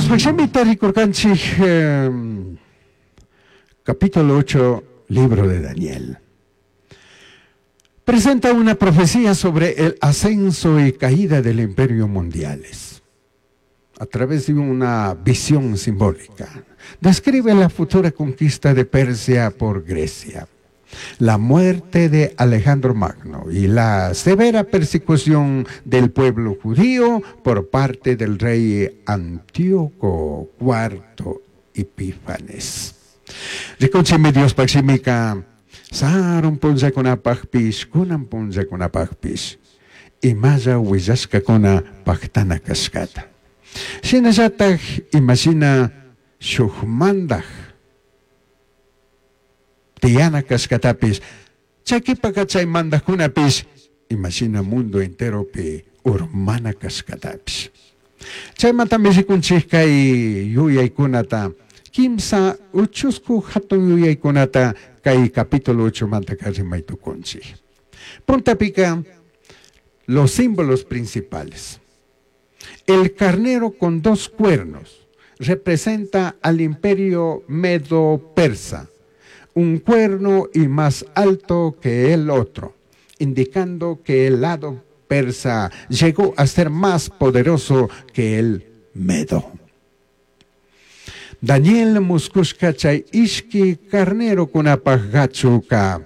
Diospaj shimita rikurkanchik capítulo 8, libro de Daniel. Presenta una profecía sobre el ascenso y caída del imperio mundiales a través de una visión simbólica. Describe la futura conquista de Persia por Grecia, la muerte de Alejandro Magno y la severa persecución del pueblo judío por parte del rey Antíoco IV Epífanes. Rikunchimi Diospaj shimika sarun punllakunapajpish, kunan punllakunapajpish, imalla huillashcacuna pajtana cashcata. Shinallataj imashina shuj mandaj tiyana cashcatapish, chayquipaka chay mandajkunapish imashina mundo enteropi urmana cashcatapish. Chaymantami rikunchik kay yuyaykunata, kimsa uchusku hatun yuyaykunata kay capítulo 8 mantaka rimay tukunchik. Puntapika, los símbolos principales. El carnero con dos cuernos representa al imperio medo-persa, un cuerno y más alto que el otro, indicando que el lado persa llegó a ser más poderoso que el medo. Daniel muscushka chay ishki carnerokunapaj gachuka.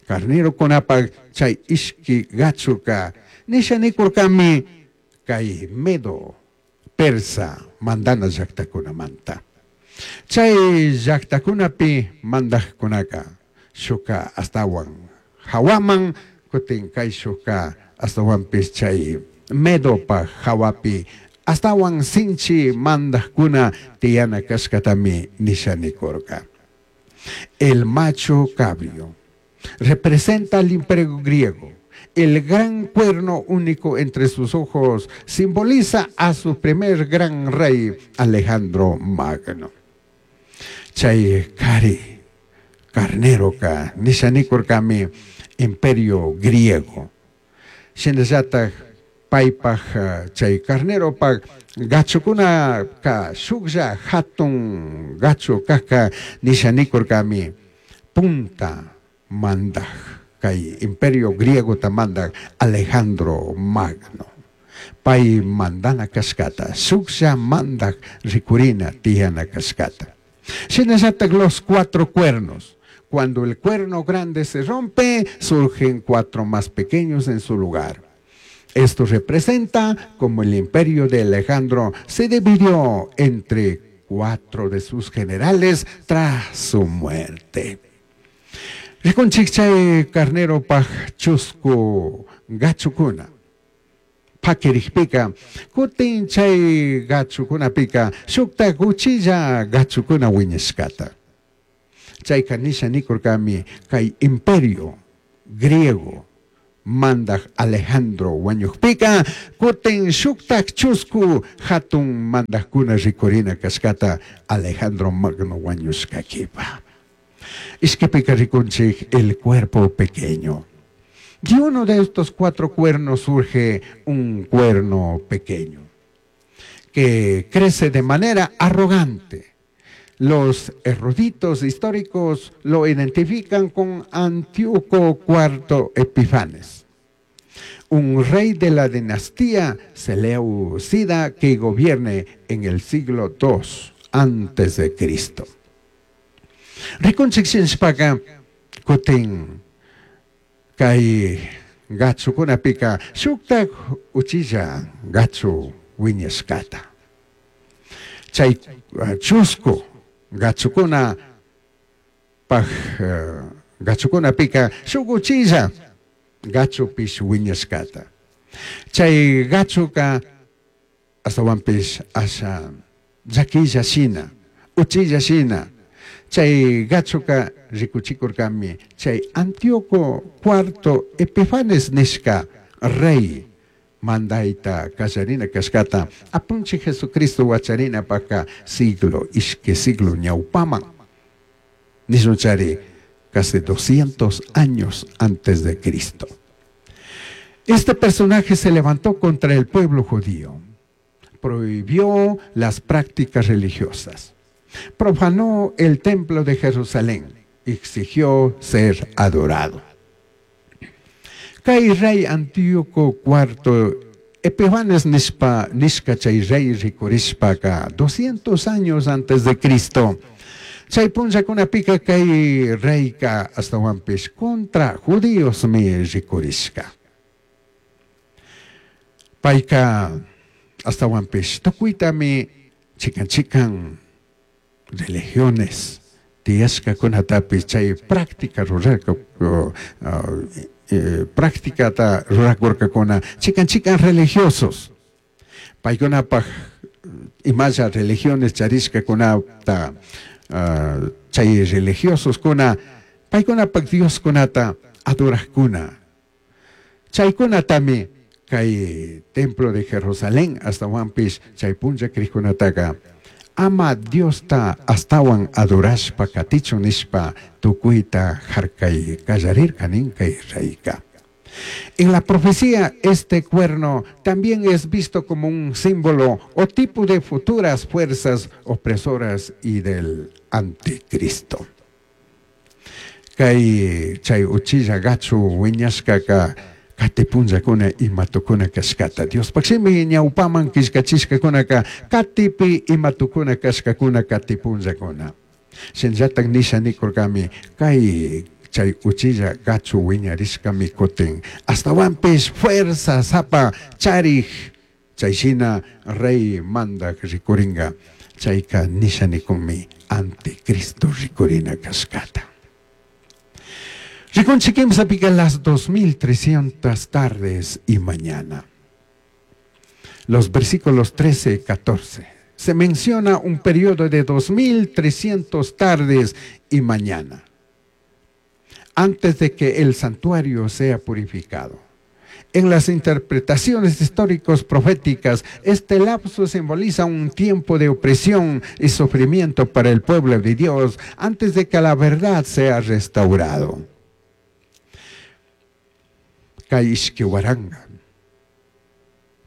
Carnerokunapaj chay ishki gachuka. Nisha nikurkami kay medo persa mandana llaktakunamanta. Chay llaktakunapi mandajkunaka shuka astawan hawaman kutin kay shuka astawanpis chay medopaj hawapi astawan sinchi mandajkuna tiyana kashkatami nisha nikurka. El macho cabrio representa al imperio griego. El gran cuerno único entre sus ojos simboliza a su primer gran rey, Alejandro Magno. Chay kari, carneroka, nisha nikurkami imperio griego. Shinallataj paypaj chay carneropaj gachukunaka shuklla hatun gachu kajka nisha nikurkami punta mandaj kay imperio griego ta mandaj Alejandro Magno. Pay mandana kashkata, shuklla mandaj rikurina tiyana kashkata. Shinallataj los cuatro cuernos. Cuando el cuerno grande se rompe, surgen cuatro más pequeños en su lugar. Esto representa como el imperio de Alejandro se dividió entre cuatro de sus generales tras su muerte. Rikunchik chay carneropaj chusku gachukuna. Pakirikpika, kutin chay gachukunapika, shukta uchilla gachukuna wiñashkata. Chayka nisha nikurkami kay imperio griego mandaj Alejandro wañukpika, kutin shuktak chusku hatun mandajkuna rikurina kashkata Alejandro Magno wañushkakipa. Ishkipika rikunchik el cuerpo pequeño. De uno de estos cuatro cuernos surge un cuerno pequeño que crece de manera arrogante. Los eruditos históricos lo identifican con Antíoco IV Epifanes, un rey de la dinastía Seleucida que gobierne en el siglo II antes de Cristo. Rikunchik shinashpaka kutin kay gachukunapika shuktak uchilla gachu wiñashkata. Chay chusku gachukuna paj gachukunapika shuk uchilla gachupish wiñashkata. Chay gachuka astawanpish asha llaquilla shina, uchilla shina. Chay gachuka rikuchikurkami chay Antíoco IV Epifanes nishka rey mandayta kallarina kashkata apunchik Jesucristo wacharinapaka siglo ishki siglo ñawpaman nishunchari casi 200 años antes de Cristo. Este personaje se levantó contra el pueblo judío. Prohibió las prácticas religiosas. Profanó el templo de Jerusalén. Exigió ser adorado. Kay rey Antíoco IV Epifanes nishpa nishka chay rey rikurishpaka 200 años antes de Cristo. Chay punllakunapika kay reyka ashtawanpish contra judíosmi rikurishka. Payka ashtawanpish tukuytami chikan chikan religiones tiyashkakunatapish chay práctica rurarka prácticata rurakurkakuna chikan chikan religiosos. Paykunapaj imalla religiones charishkakunata chay religiososkuna paykunapaj dioskunata adorajkuna. Chaykunatami kay templo de Jerusalén ashtawanpish chay punlla crijkunataka ama Diosta ashtawan adorashpa katichun nishpa tukuyta harkay kallarirka nin kay reyka. En la profecía, este cuerno también es visto como un símbolo o tipo de futuras fuerzas opresoras y del anticristo. Kay chay uchilla gachu wiñashkaka kati punllakuna ima tukuna kashkata. Diospaj shimi ñawpaman killkachishkakunaka katipi ima tukuna kashkakuna kati punllakuna. Shinallatak nisha nikurkami kay chay uchilla gachu wiñarishkami kutin ashtawanpish fuerza sapa charij chay shina rey mandak rikuringa chayka nisha nikunmi anticristo rikurina kashkata. Rikunchik kimsapika las 2300 tardes y mañana. Los versículos 13 y 14. Se menciona un periodo de 2300 tardes y mañana, antes de que el santuario sea purificado. En las interpretaciones históricos proféticas, este lapso simboliza un tiempo de opresión y sufrimiento para el pueblo de Dios antes de que la verdad sea restaurado. Kay ishki waranga,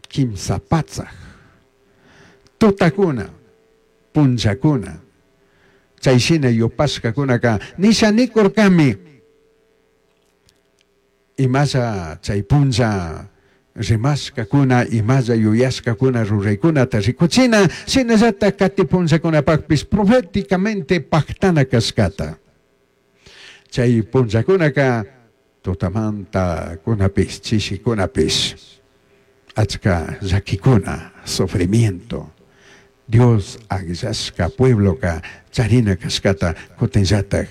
kimsa patsaj, tutakuna, punllakuna, chay shina yupashkakunaka nisha nikurkami imalla chay punlla rimashkakuna imalla yuyashkakuna ruraykunata rikuchina shinallatak kati punllakunapakpish proféticamente paktana kashkata. Chay punllakunaka tutamanta kunapish chishikunapish achka llakikuna sufrimiento Dios akllashka puebloka charina kashkata kutinllatak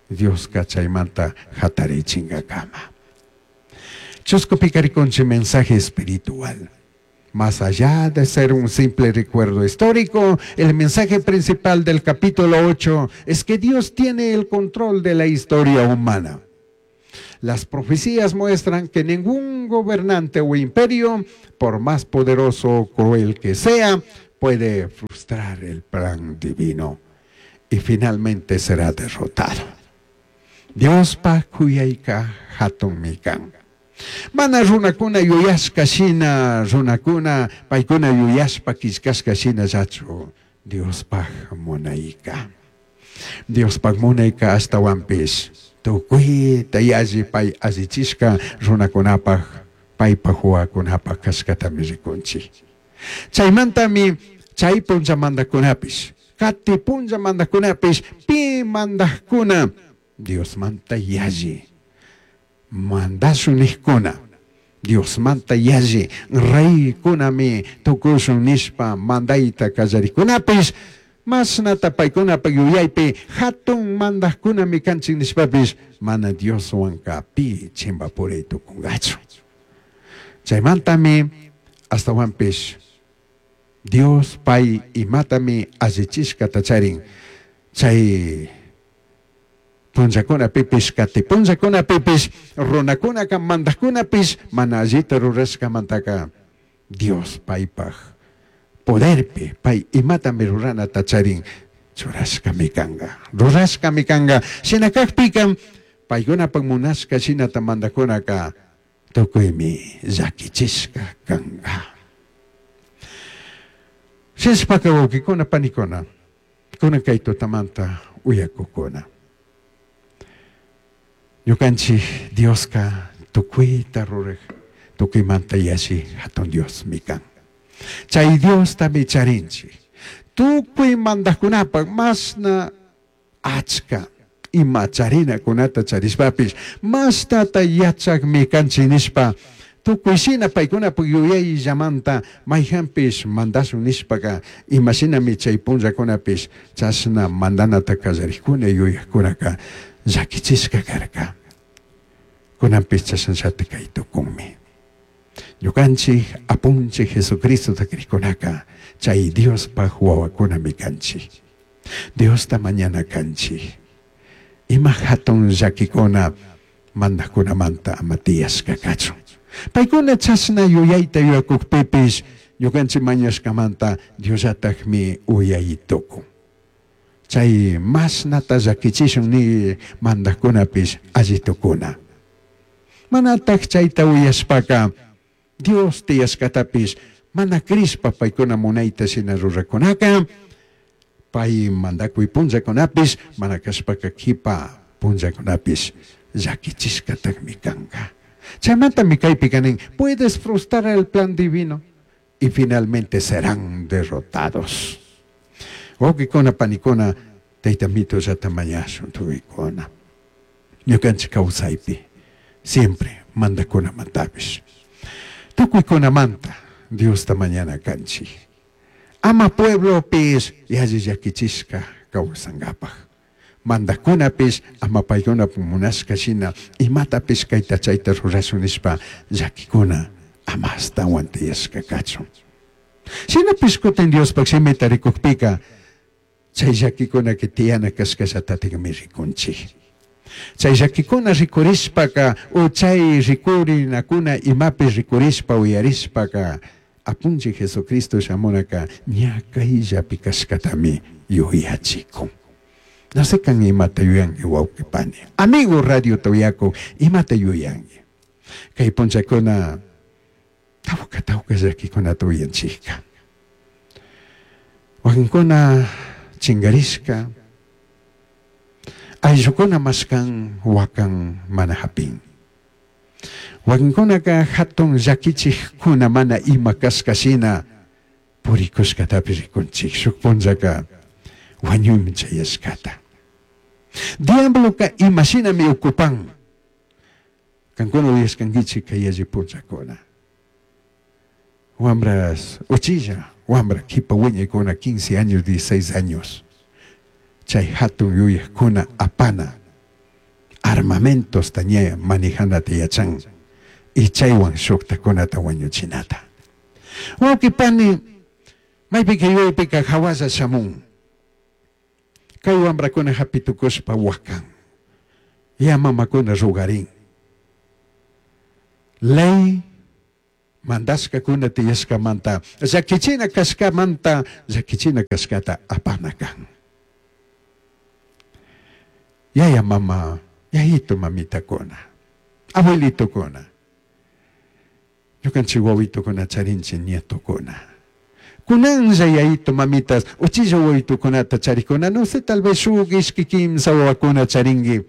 Dioska chaymanta hatarichinkakama. Chuscupika rikunchik mensaje espiritual. Más allá de ser un simple recuerdo histórico, el mensaje principal del capítulo 8 es que Dios tiene el control de la historia humana. Las profecías muestran que ningún gobernante o imperio, por más poderoso o cruel que sea, puede frustrar el plan divino y finalmente será derrotado. Diospaj kuyayka hatunmi kan. Mana runakuna yuyashka shina, runakuna paykuna yuyashpa killkashka shinallachu Diospaj munayka. Diospaj munayka ashtawanpish tukuyta yalli pay allichishka runakunapaj paypaj wawakunapaj kashkatami rikunchik. Chaymantami chay punlla mandakunapish, kati punlla mandakunapish, pi mandajkuna Diosmanta yalli mandashun nijkuna, Diosmanta yalli reykunami tukushun nishpa mandayta kallarikunapish, mashnata paykunapaj yuyaypi hatun mandajkunami kanchik nishpapish mana Dioswanka pi chimbapuray tukungachu. Chaymantami ashtawanpish Dios pay imatami allichishkata charin chay punllakunapipish kati punllakunapipish runakunaka mandajkunapish mana allita rurashkamantaka Dios paypaj poderpi pay imatami ruranata charin churashkami kanka rurashkami kanka. Shina kakpika paykunapaj munashka shinata mandakunaka tukuymi llakichishka kanka. Shinashpaka wawkikuna panikuna, kunan kay tutamanta uyakukuna. Ñukanchik Dioska tukuyta ruraj, tukuymanta yalli hatun Diosmi kan. Chay Diostami charinchik. Tukuy mandajkunapak mashna achka ima charinakunata charishpapish mashtata yachakmi kanchik nishpa tukuy shina paykunapak yuyayllamanta mayjanpish mandashun nishpaka imashinami chay punllakunapish chashna mandanata kallarikuna yuyakkunaka llakichishka karka. Kunanpish chashnallata kay tukunmi. Ñukanchik apunchik Jesucristota krikkunaka chay Diospaj wawakunami kanchik. Diosta mañana kanchik. Ima hatun llakikuna mandajkunamanta ama tiyashka kachun. Paykuna chashna yuyayta yuyakukpipish ñukanchik mañashkamanta Diosllatakmi uyay tukun. Chay mashnata llakichishun ni mandajkunapish alli tukuna. Manataj chayta uyashpaka Dios tiyashkatapish mana crishpa paykuna munayta shina rurakunaka pay mandakuy punllakunapish mana kashpaka kipa punllakunapish llakichishkatakmi kanka. Chaymantami kaypika nin, puedes frustrar el plan divino y finalmente serán derrotados. Wawkikuna panikuna tayta mitullata mañashun tukuykuna. Ñukanchik kawsaypi siempre mandakunamantapish. Tukuykunamanta Diosta mañana kanchik. Ama pueblopish yalli llakichishka kawsankapaj. Mandakunapish ama paykunapak munashka shina imatapish kayta chayta rurashun nishpa llakikuna ama ashtawan tiyashka kachun. Shinapish kutin Diospak shimita rikukpika chay llakikunaka tiyana kashkallatatikmi rikunchik. Chay llakikuna rikurishpaka o chay rikurinakuna imapi rikurishpa uyarishpaka apunchik Jesucristo shamunaka ña kayllapi kashkatami yuyachikun. No sé kan imata yuyanki wawqi pani. Amigo radiota uyakuk imata yuyanki. Kay punllakuna tawka tawka llakikunata uyanchikka. Wakinkuna chinkarishka, ayllukuna mashkan wakan mana hapin. Wakinkunaka hatun llakichikkuna mana ima kashka shina purikushkatapish rikunchik. Shuk punllaka wañuymi chayashkata. Diabloka imashinami ocupan. Kankuna uyashkankichik kay yalli punllakuna. Wambras uchilla, wambra kipa wiñaykuna 15 años, 16 años. Chay hatun yuyakuna apana armamentos ña manejanata yachan y chaywan shuktakunata wañuchinata. Wawqi pani, maypika yuyaypika hawalla shamun. Kay wambrakuna hapitukushpa wakan. Ya mamakuna rugarin. Ley mandashkakuna tiyashkamanta llakichina kashkamanta llakichina kashkata apana kan. Yaya mama, yayito mamitakuna, abuelitokuna, ñukanchik wawitokuna charinchik nietokuna. Kunanlla yayito mamitas, uchilla wawitokunata charikuna, no sé, tal vez shuk ishki kimsa wawakuna charinki.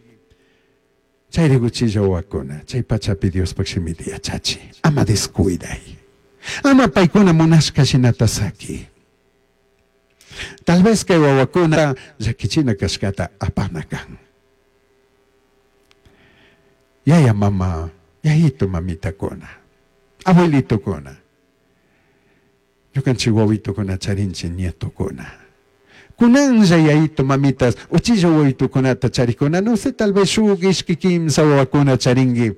Chayri uchilla wawakuna, chay pachapi Diospak shimita yachachi, ama descuiday. Ama paykuna munashka shinata saki. Tal vez kay wawakuna llakichina kashkata apana kan. Yaya mama, yayito mamitakuna, abuelitokuna, ñukanchik wawitokuna charinchik nietokuna. Kunanlla yayito mamitas, uchilla wawitokunata charikuna, no sé, tal vez shuk ishki kimsa wawakuna charinki.